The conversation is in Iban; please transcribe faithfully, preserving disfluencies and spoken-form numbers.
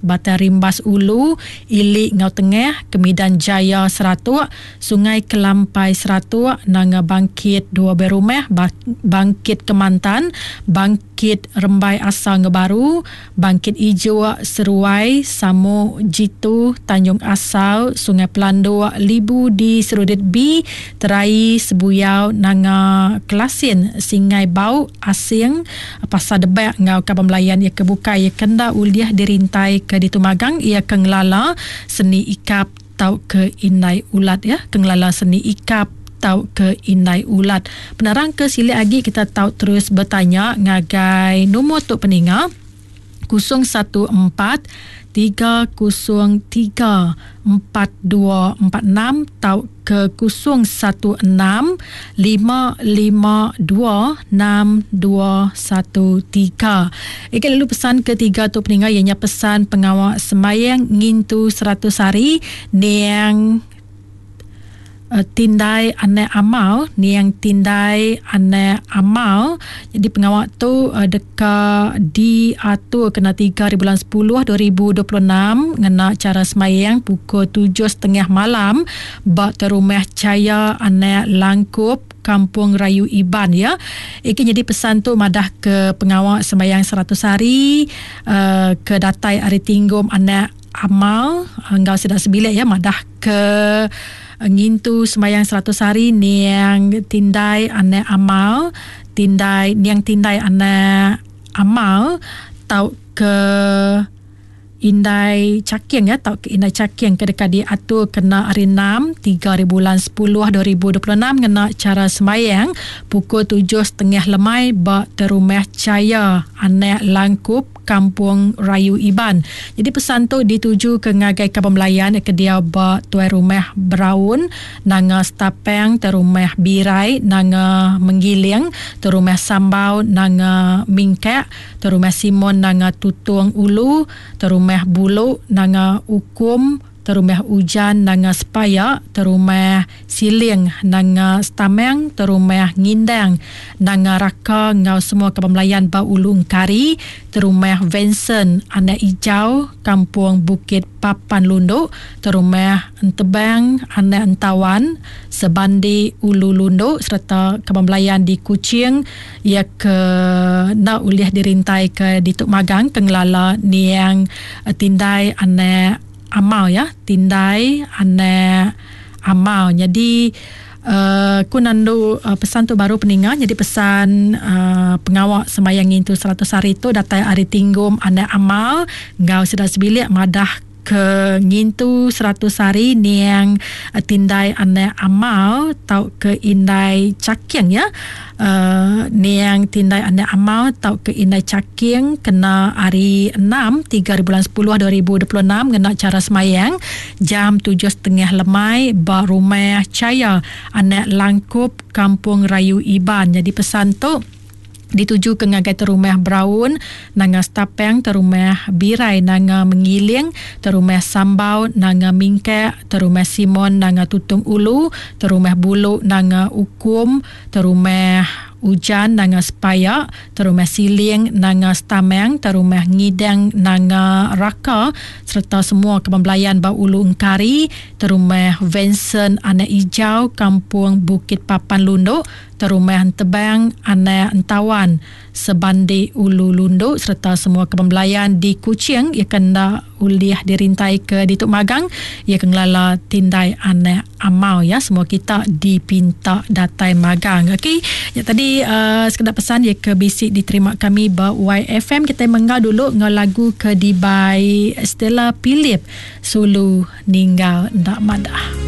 Batang Rimbas Ulu, Ili enggau Tengah, Kemidan Jaya Seratuk, Sungai Kelampai Seratuk, Nanga Bangkit dua buah rumah, Bangkit Kemantan, Bangkit Rembai Asa enggau Baru, Bangkit Ijuk, Seruai, Samu, Jitu, Tanjung Asal, Sungai Pelanduk, Libu di Serudit B, Terai, Sebuyau, Nanga Kelasin, Singai Bau, Asing, Pasar Debak enggau kaban belayan ia ke bukai ia kenda ulih dirintai ke ditumagang ia ke ngelala seni ikap tau ke indai ulat ya, ke ngelala seni ikap tau ke indai ulat. Penerang ke silik agi kita tau terus bertanya ngagai nombor tu peninga kosong satu empat tiga kosong tiga empat dua empat enam tau ke kosong satu enam lima lima dua enam dua satu tiga. Ika lalu pesan ketiga tu peninga ianya pesan pengawal sembayang ngintu seratus hari niang Uh, tindai anak amal, niang tindai anak amal. Jadi pengawal tu uh, deka diatur kena tiga hari bulan sepuluh dua ribu dua puluh enam ngena cara semayang pukul tujuh setengah malam bak terumah Caya Anak Langkup Kampung Rayu Iban ya. Iki jadi pesan tu madah ke pengawal sembayang seratus hari uh, ke datai hari tinggum anak amal enggau sedak sebilik ya, madah ke ngintu sembayang seratus hari niang tindai anak amal, tindai niang tindai anak amal tau ke indai caking ya, tau ke indai caking ke dekat diatur kena hari enam tiga hari bulan sepuluh dua ribu dua puluh enam ngena cara sembayang pukul tujuh setengah lemai ba terumah Caya Anak Langkup Kampung Rayu Iban. Jadi pesan tu dituju ke ngagai kaban belayan ke dia ba tuai rumah Braun, Nanga Stapang, terumah Birai, Nanga Menggiling, terumah Sambau, Nanga Mingkak, terumah Simon, Nanga Tutung Ulu, terumah Buluk, Nanga Ukum, terumah Ujan, Nanga Sepaya, terumah Siling, Nanga Stameng, terumah Ngindang, Nanga Raka ngau semua kaban belayan ba Ulu Engkari, terumah Vincent, Anak Ijau, Kampung Bukit Papan Lunduk, terumah Entebang, Anak Entawan, Sebandi Ulu Lunduk serta kaban belayan di Kuching ia ke nak ulih dirintai ke Dituk Magang ke ngelala niang tindai anak amal ya, tindai anak amal. Jadi uh, ku nandu uh, pesan tu baru peninga. Jadi pesan uh, pengawak sembayang ngintu seratus hari tu datai hari tinggum anak amal ngau sedar sebilik madah ke ngintu seratus hari niang uh, tindai anak amal tau ke indai caking ya. Uh, niang tindai anak amal tau ke indai caking kena hari enam tiga hari bulan sepuluh dua ribu dua puluh enam ngena cara semayang jam tujuh setengah lemai ba rumah Caya Anak Langkup Kampung Rayu Iban. Jadi pesan tu dituju ke ngagai terumah Braun, Nanga Stapang, terumah Birai, Nanga Mengiling, terumah Sambau, Nanga Mingkak, terumah Simon, Nanga Tutung Ulu, terumah Buluk, Nanga Ukum, terumah Ujan, Nanga Sepaya, terumah Siling, Nanga Stameng, terumah Ngidang, Nanga Raka serta semua kaban belayan ba Ulu Engkari, terumah Vincent Anak Ijau, Kampung Bukit Papan Lunduk, terumah Entebang, Anak Entawan, Sebandi Ulu Lunduk serta semua kaban belayan di Kuching ia kena ulih dirintai ke Dituk Magang ia ke ngelala tindai anak amal ya. Semua kita dipinta datai magang. Okey, ya tadi uh, sekedar pesan ia ke bisik diterima kami ba Y F M. Kita menggau dulu ngau lagu ke dibai Stella Philip Sulu Ninggal Ndak Madah.